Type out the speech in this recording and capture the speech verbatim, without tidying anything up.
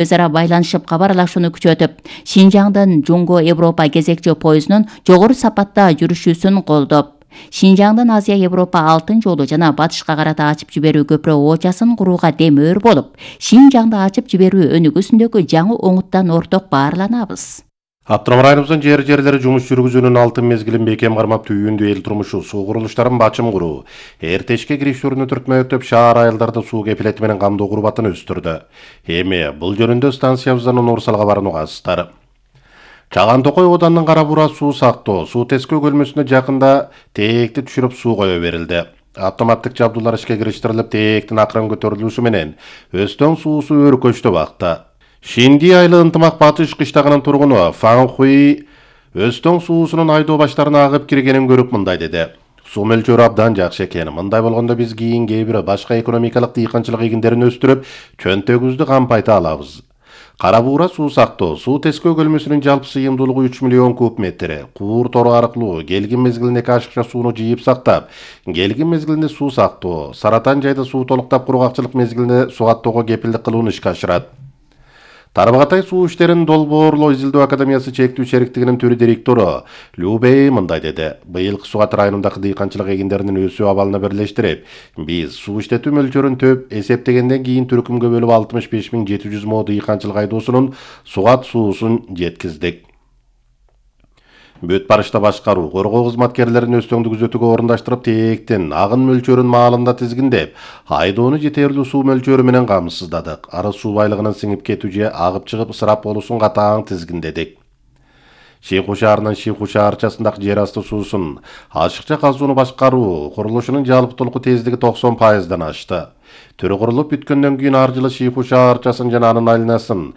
өз ара байланышып кабар алышууну күчөтүп, Шинжаңдын Жуңго Европа кезекчи поездунун жогору сапатта жүрүшүүсүн колдоп, Шинжаңдын Азия Европа алтын жолу жана батышка карата ачып жиберүү көпүрө оочасын курууга демөөр болуп, Шинжаңды ачып жиберүү өнүгүүсүндөгү жаңы оңуттан орток баарланабыз. Автономдук районубуздун жер жерлери жумуш жүргүзүүнүн алтын мезгилин бекем кармап түйүндү эл турмушу, суу курулуштарын бачым куруу, эртешке кириштерүүнү түртмөктөп шаар айылдарды суу кепилети менен камдоо курбатын өстүрдү. Эми бул жөнүндө станциябыздан Нур-Салга баруугасыздар. Чаган Токой оданынын Кара Бура суу сактоо, суу тескөө көлмөсүнө жакында тээкти түшүрүп суу кое берилди. Автоматтык жабдуулар ишке кириштирилип, тээктин акырын көтөрүлүүсү менен Өстөң суусу өркөчтө бакта. Шинди айылы ынтымак батыш кыштагынын тургуну Фан Хуи Өстөң суусунун айдоо баштарына агып киргенин көрүп мындай деди. Суу мөлчөрү абдан жакшы экен. Мындай болгондо биз кийин кээ бир башка экономикалык дыйканчылык эгиндерин өстүрүп, чөнтөгүбүздү кампайта алабыз. Кара Бура суу сактоо, суу тескөө көлмөсүнүн жалпы сыйымдуулугу үч миллион куб метр. Куур тору аркылуу келгин мезгилинде ашыкча сууну жыйып сактап, келгин мезгилинде суу сактоо, Саратан жайда суу толуктап кургакчылык мезгилинде сугаттоого кепилдик кылууну ишке ашырат. Тарбагатай суу иштерин долбоорлоо изилдөө академиясы чектүү шериктигинин төрү директору Любей мындай деди. Быйылкы Сугат районундагы дыйканчылык эгиндеринин өсүү абалына бирлештирип, биз суу иштетүү мөлчөрүн төп эсептегенден кийин түркүмгө бөлүп алтымыш беш миң жети жүз мо дыйканчылык айдоосунун Сугат суусун жеткиздик. Бүт барышта башкаруу, коргоо кызматкерлерин Өстөңдү күзөтүүгө орундаштырып, тээктин агын мөлчөрүн маалында тизгиндеп, айдоону жетерлүү суу мөлчөрү менен камсыздадык. Арыз суу байлыгынын сиңип кетүү же агып чыгып ысырап болуусун катаң тизгиндедик. Шийху шаарынын Шийху шаарчасындагы жер асты суусун ашыкча казууну башкаруу курулушунун жалпы тездиги токсон пайыздан ашты. Төрү курулуп бүткөндөн кийин ар жылы Шийху шаарчасын жана анын айланасын